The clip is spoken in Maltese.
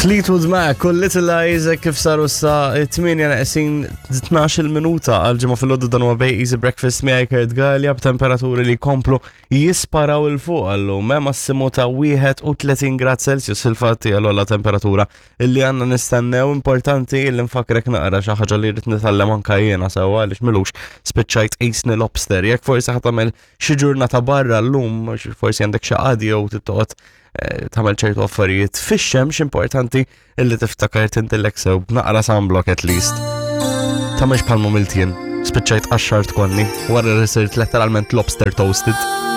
Fleetwood Mac u Little Eyes kif saru sa 8 naqsin 12 minuta għal ġimgħa fil-għodu dan huwa Bay Easy Breakfast miegħi Kurt Gallia b'temperaturi li jkomplu jisparaw il fuq għallum eh, massimu ta' 31 grad Celsius fil-fatt hija l-ogħla temperatura illi għandna nistennew importanti illi nfakrek naqra xi ħaġa li rrid nitgħallem anke jiena sewwa għaliex milux spiċċajt qisni lobster jekk forsi ħa tagħmel xi ġurnata barra llum, forsi għandek xi qadi jew tittoqgħod eh, tagħmel ċertu affarijiet fix-xemx importanti illi tiftakar tintillek sew b'naqra sunblock at least. Tagħmilx bħal mumiltien, spiċċajt qaxxart konni wara li sirt letteralment lobster toasted.